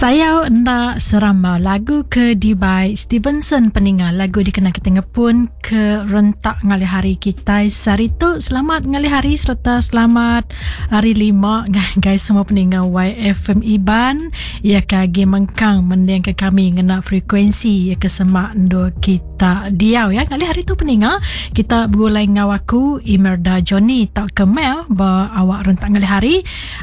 Sayau enda seramba lagu ke dibai Stevenson peninga lagu dikena kita ngepun ke rentak ngalih hari kitai sehari tu. Selamat ngalih hari sereta selamat hari lima ngagai semua peninga YFM Iban iya ke agi mengkang mendingka kami ngena frekuensi iya ke semak endur kita diau ya. Ngalih hari tu peninga kita begulai enggau aku Imerda Johnny tauka Mel ba awak rentak ngalih hari.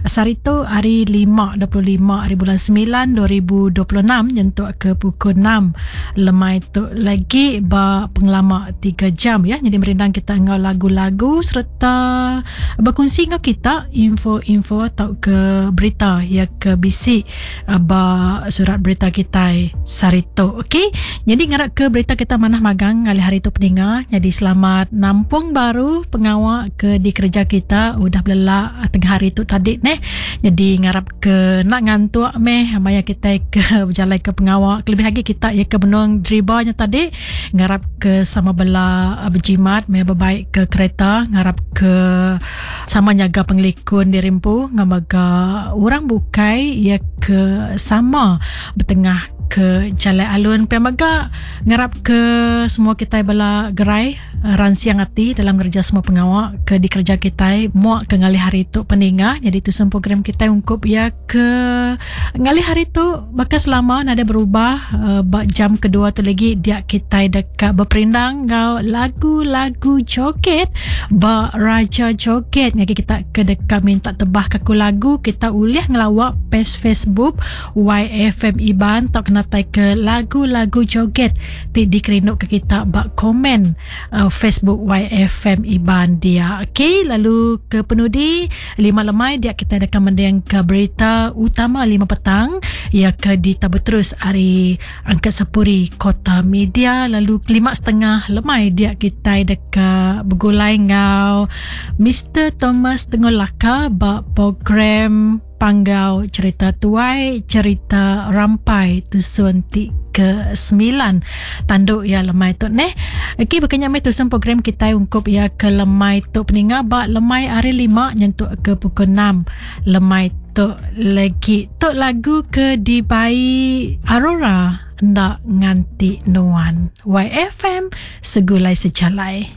Sehari tu hari lima 25 hari bulan 9 2026 nyentuk ke pukul 6 lemai tu lagi ba pengelama 3 jam ya. Jadi merindang kita enggau lagu-lagu sereta berkongsi enggau kita info-info atau ke berita ya ke bisi eh, ba surat berita kita sehari tu. Okey. Jadi ngarap ke berita kita manah magang ngalih hari tu peninga. Jadi selamat nampung baru pengawa ke dikereja kita udah belelak ah, tengah hari tu tadi neh. Jadi ngarap ke nak ngantuk meh maya kita ke berjalai ke pengawa kelebih lagi kita ya ke benung driba nya tadi ngarap ke sama bela ah, berjimat meh bebaik ke kereta ngarap ke sama nyaga pengelikun diri empu enggau mega orang bukai ya ke sama betengah ke jalai alun pia mega ngarap ke semua kitai bela gerai ransing ati dalam ngereja semua pengawa ke dikereja kitai muak ke ngalih hari tu peninga nyadi tusun program kitai ungkup iya ke ngalih hari tu baka selama nadai berubah uh, ba jam kedua tu lagi dia kitai deka beperindang enggau lagu-lagu joget ba Raja Joget ngagai kita ke deka minta tebah ke aku lagu kita ulih ngelawa page Facebook YFM Iban tau kenatai ke lagu-lagu joget ti dikerindu ke kita ba komen uh, Facebook YFM Iban dia. Okey, lalu ke penudi lima lemai dia kita deka mending ke berita utama lima petang ia ke ditabur terus ari Angkat Sepuri Kota Media lalu lima setengah lemai dia kita deka begulai enggau Mr Thomas Tengolaka ba program Panggau Cerita Tuai Cerita Rampai Tusun ti ke sembilan tandu iya lemai tu neh. Okey baka nya meh tusun program kitai ungkup iya ke lemai tu peninga ba lemai hari lima nyentuk ke pukul enam lemai tu legi. Tu lagu ke dibai Aurora enda nganti nuan. YFM segulai sejalai.